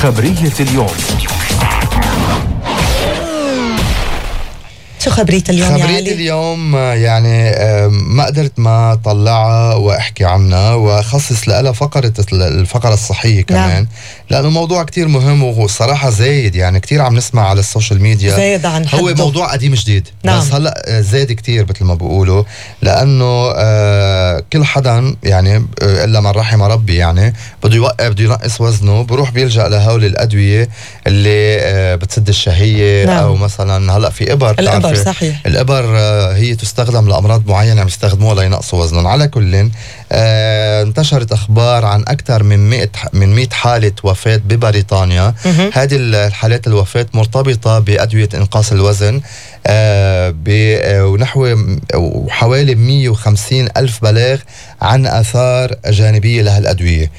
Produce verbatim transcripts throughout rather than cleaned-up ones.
خبرية اليوم. شو خبرية اليوم يا خبرية علي؟ اليوم يعني ما قدرت ما طلعها واحكي عنها وخصص لها فقرة الفقرة الصحية كمان. نعم. لأنه موضوع كتير مهم وصراحة زايد، يعني كتير عم نسمع على السوشيال ميديا زايد عن حده. هو موضوع قديم جديد. نعم. بس هلأ زايد كتير مثل ما بيقولوا، لأنه آه كل حدا يعني آه إلا من رحم ربي يعني بده يوقف بده ينقص وزنه بروح بيلجأ لهول الأدوية اللي آه بتسد الشهية. نعم. أو مثلا هلأ في إبر الإبر صحيح. الإبر هي تستخدم لأمراض معينة عم يستخدموها لينقصوا وزنهم. على كل آه انتشرت أخبار عن أكثر من مئة من مئة حالة وفاة ببريطانيا. هذه الحالات الوفاة مرتبطة بأدوية إنقاص الوزن آه ونحو حوالي مئة وخمسين ألف بلاغ عن آثار جانبية لهالأدوية.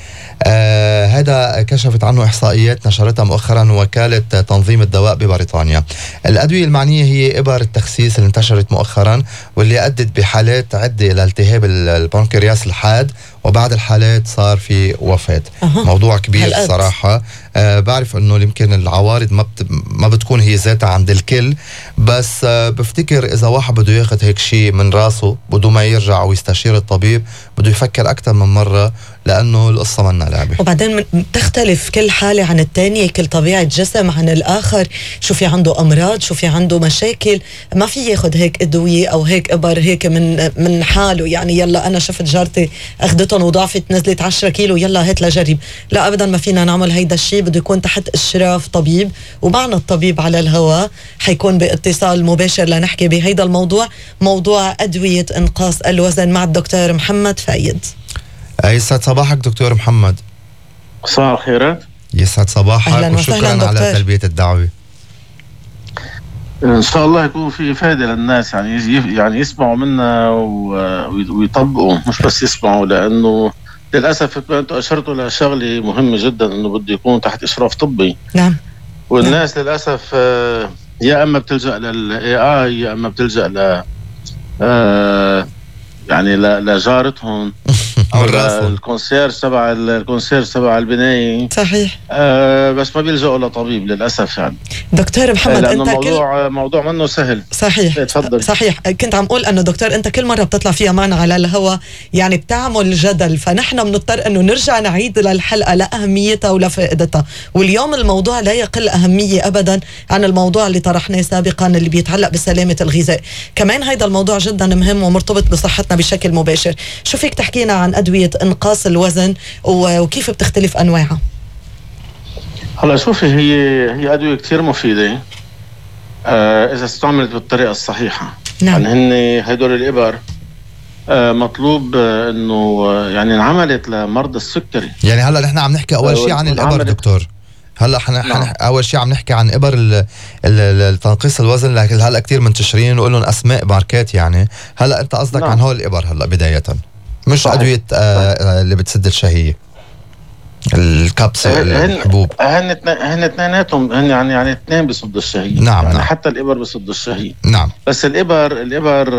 آه هذا كشفت عنه إحصائيات نشرتها مؤخرا وكالة تنظيم الدواء ببريطانيا. الأدوية المعنية هي إبر التخسيس اللي انتشرت مؤخرا واللي أدت بحالات عدة لالتهاب البنكرياس الحاد، وبعد الحالات صار في وفاة. أه. موضوع كبير صراحة. آه بعرف انه يمكن العوارض ما بت... ما بتكون هي ذاتها عند الكل، بس آه بفتكر اذا واحد بده ياخذ هيك شيء من راسه بده ما يرجع ويستشير الطبيب، بده يفكر اكثر من مرة، لانه القصة منا لعبة. وبعدين تختلف كل حالة عن الثانية، كل طبيعة جسم عن الاخر، شو في عنده امراض، شو في عنده مشاكل. ما في ياخذ هيك ادوية او هيك ابر هيك من من حاله، يعني يلا انا شفت جارتي اخذتهم وضعفت نزلت عشرة كيلو يلا هات لجرب. لا ابدا، ما فينا نعمل هيدا الشيء، بده يكون تحت اشراف طبيب، ومعنا الطبيب على الهواء حيكون باتصال مباشر لنحكي بهيدا الموضوع، موضوع ادوية انقاص الوزن مع الدكتور محمد فايد. يسعد صباحك دكتور محمد. صباح الخيرات. يسعد صباحك وشكرا على تلبية الدعوة. ان شاء الله يكون في فائدة للناس، يعني يعني يسمعوا منا ويطبقوا، مش بس يسمعوا، لانه للاسف انتم اشرتوا لشغله مهمه جدا، انه بده يكون تحت اشراف طبي. نعم. والناس نعم. للاسف يا اما بتلجأ للاي اي يا اما بتلجأ ل يعني لجارتهم او الكونسيرج تبع الكونسيرج تبع البنايه. صحيح. آه بس ما بيلجأوا لطبيب للاسف. يعني دكتور محمد انت موضوع كل... موضوع منه سهل. صحيح. تفضل. صحيح. كنت عم اقول انه دكتور انت كل مره بتطلع فيها معنا على الهواء يعني بتعمل جدل، فنحن بنضطر انه نرجع نعيد للحلقه لاهميتها ولفائدتها، واليوم الموضوع لا يقل اهميه ابدا عن الموضوع اللي طرحناه سابقا اللي بيتعلق بسلامه الغذاء. كمان هذا الموضوع جدا مهم ومرتبط بصحتنا بشكل مباشر. شو فيك تحكينا عن أدوية إنقاص الوزن وكيف بتختلف أنواعها؟ هلا شوفي، هي هي أدوية كتير مفيدة آه إذا استعملت بالطريقة الصحيحة. نعم. يعني هن هدول الإبر آه مطلوب آه إنه آه يعني انعملت لمرضى السكري. يعني هلا نحن عم نحكي أول شيء عن الإبر دكتور. هلا حنا نعم. اول شيء عم نحكي عن ابر التنقيص الوزن، لكن هلا كثير منتشرين وقول لهم اسماء ماركات. يعني هلا انت قصدك نعم. عن هول الابر هلا بدايه، مش صحيح. ادويه آه اللي بتسد الشهيه، الكبسه الحبوب. هن هن اثنيناتهم هن يعني يعني اثنين بيصدوا الشهيه. نعم. يعني نعم. حتى الابر بيصدوا الشهيه. نعم. بس الابر الابر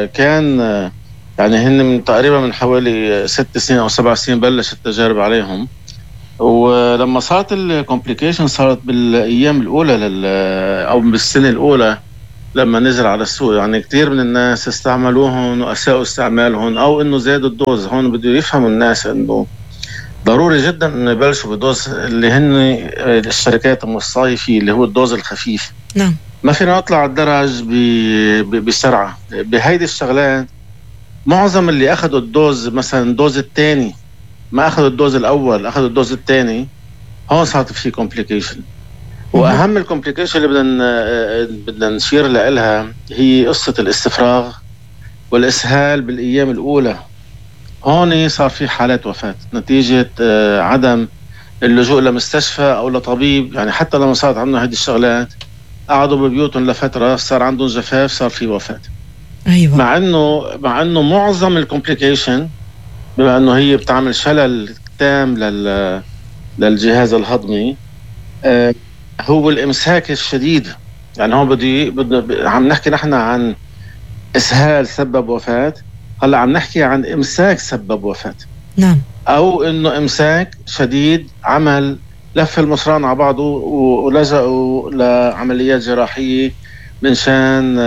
كان يعني هن من تقريبا من حوالي ست سنين او سبع سنين بلشت التجارب عليهم، ولما صارت الكومبليكيشن صارت بالايام الاولى لل او بالسنه الاولى لما نزل على السوق. يعني كثير من الناس استعملوهم واساءوا استعمالهم او انه زادوا الدوز. هون بده يفهموا الناس انه ضروري جدا انه يبلشوا بدوز اللي هن الشركات المصايفه اللي هو الدوز الخفيف. نعم. ما فينا نطلع على الدرج بسرعه بهيدي الشغلات. معظم اللي اخذوا الدوز مثلا الدوز الثاني ما اخذوا الدوز الاول، اخذوا الدوز الثاني، هون صارت في كومبليكيشن. واهم الكومبليكيشن اللي بدنا بدنا نشير لها هي قصه الاستفراغ والاسهال بالايام الاولى. هون صار في حالات وفاه نتيجه عدم اللجوء لمستشفى او لطبيب. يعني حتى لما صارت عندنا هذه الشغلات قعدوا ببيوتهم لفتره، صار عندهم جفاف، صار في وفاه. ايوه. مع انه مع انه معظم الكومبليكيشن بما انه هي بتعمل شلل تام لل للجهاز الهضمي آه هو الامساك الشديد. يعني هون بدي بدنا عم نحكي نحن عن اسهال سبب وفاه، هلا عم نحكي عن امساك سبب وفاه. نعم. او انه امساك شديد عمل لف المصران على بعضه ولجأوا لعمليات جراحية من شان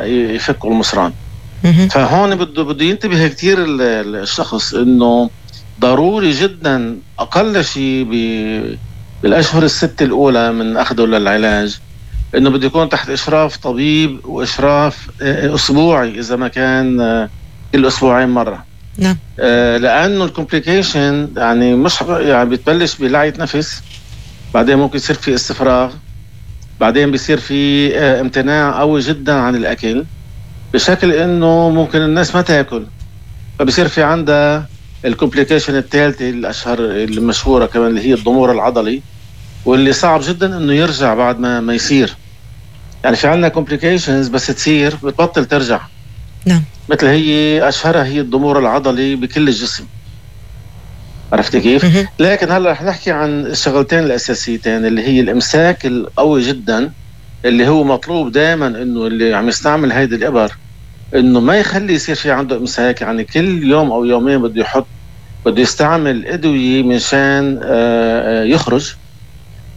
يفكوا المصران. فهون بده بده ينتبه كتير الشخص انه ضروري جدا اقل شيء بالاشهر الست الاولى من اخذه للعلاج انه بده يكون تحت اشراف طبيب واشراف اسبوعي اذا ما كان كل اسبوعين مره. نعم. آه لانه الكومبليكيشن يعني مش يعني بتبلش بلعية نفس، بعدين ممكن يصير في استفراغ، بعدين بيصير في آه امتناع قوي جدا عن الاكل بشكل انه ممكن الناس ما تاكل، فبصير في عندها الكومبليكيشن الثالثه الاشهر المشهوره كمان اللي هي الضمور العضلي، واللي صعب جدا انه يرجع بعد ما ما يصير. يعني في عندنا كومبليكيشنز بس تصير بتبطل ترجع. نعم. مثل هي اشهرها هي الضمور العضلي بكل الجسم. عرفت كيف؟ مه. لكن هلا رح نحكي عن الشغلتين الاساسيتين اللي هي الامساك القوي جدا اللي هو مطلوب دائما انه اللي عم يستعمل هيدي الابر انه ما يخلي يصير في عنده امساك، يعني كل يوم او يومين بده يحط بده يستعمل ادويه منشان يخرج،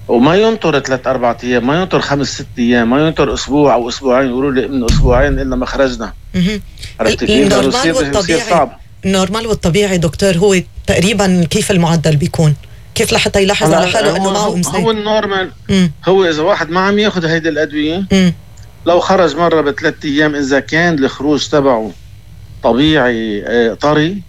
وما ينطر ثلاث اربع ايام، ما ينطر خمس ست ايام، ما ينطر اسبوع او اسبوعين يقولوا لي من اسبوعين الا ما خرجنا. عرفت كيف؟ النورمال والطبيعي النورمال والطبيعي دكتور هو تقريبا كيف المعدل بيكون؟ كيف لحتى يلاحظ على حاله انه معه امساك؟ هو النورمال هو اذا واحد ما عم ياخذ هيدي الادويه مم. لو خرج مره بثلاث ايام اذا كان الخروج تبعه طبيعي طري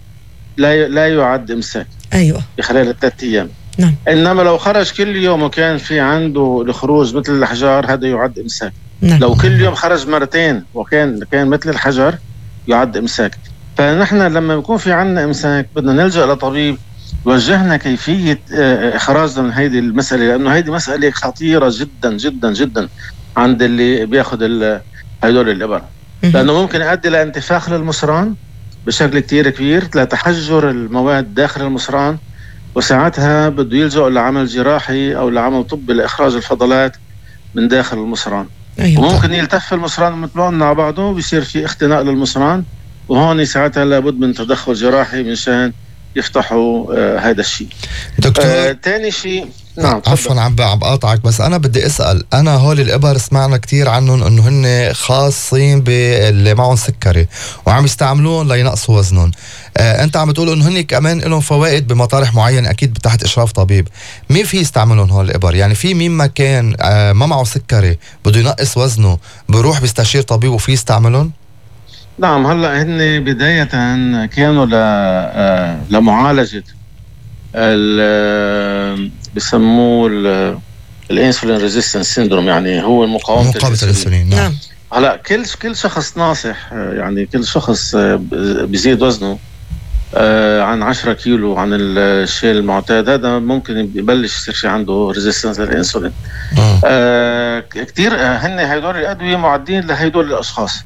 لا لا يعد امساك. ايوه خلال الثلاث ايام. نعم. انما لو خرج كل يوم وكان في عنده الخروج مثل الحجار هذا يعد امساك. نعم. لو كل يوم خرج مرتين وكان كان مثل الحجر يعد امساك. فنحن لما يكون في عنا امساك بدنا نلجأ لطبيب يوجهنا كيفيه اخراجنا من هيدي المساله، لانه هيدي مساله خطيره جدا جدا جدا عند اللي بياخذ هدول الابر، لانه ممكن يؤدي لانتفاخ للمصران بشكل كتير كبير، لتحجر المواد داخل المصران، وساعتها بده يلجأ لعمل جراحي او لعمل طبي لاخراج الفضلات من داخل المصران. أيوة. وممكن يلتف المصران مثل ما قلنا على بعضه وبيصير في اختناق للمصران، وهون ساعتها لابد من تدخل جراحي منشان يفتحوا آه هذا الشيء. دكتور آه تاني شيء نعم عفوا عم عم بقاطعك، بس انا بدي اسال، انا هول الابر سمعنا كتير عنهم انه هن خاصين باللي معهم سكري وعم يستعملون لينقصوا وزنهم. آه انت عم تقول انه هن كمان لهم فوائد بمطارح معينه اكيد تحت اشراف طبيب. مين في يستعملون هول الابر؟ يعني في مين ما كان آه ما معه سكري بده ينقص وزنه بروح بيستشير طبيب وفي يستعملون؟ نعم. هلا هن بدايه كانوا ل آه لمعالجه ال بسموه الانسولين ريزيستنس سيندروم، يعني هو مقاومه الانسولين. نعم. هلا كل كل شخص ناصح، يعني كل شخص بيزيد وزنه عن عشرة كيلو عن الشيء المعتاد هذا ممكن يبلش يصير في عنده ريزيستنس للانسولين. آه كثير هن هيدول الادويه معدين لهيدول الاشخاص.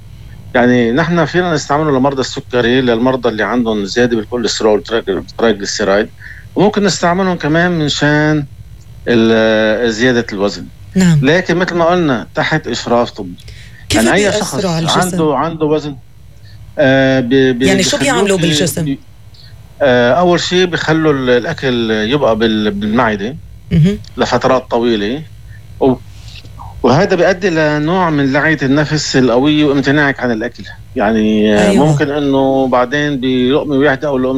يعني نحن فينا نستعمله لمرضى السكري، للمرضى اللي عندهم زياده بالكوليسترول ترايجليسيرايد، وممكن نستعملهم كمان من شان زيادة الوزن. نعم. لكن مثل ما قلنا تحت إشراف طبي. كيف يعني أي شخص عنده عنده وزن آه بي بي يعني شو بيعملوا بالجسم؟ بي آه أول شيء بيخلوا الأكل يبقى بالمعدة لفترات طويلة، وهذا بيؤدي لنوع من لعية النفس القوية وامتناعك عن الأكل. يعني أيوة. ممكن أنه بعدين بلقمة واحدة أو لقمة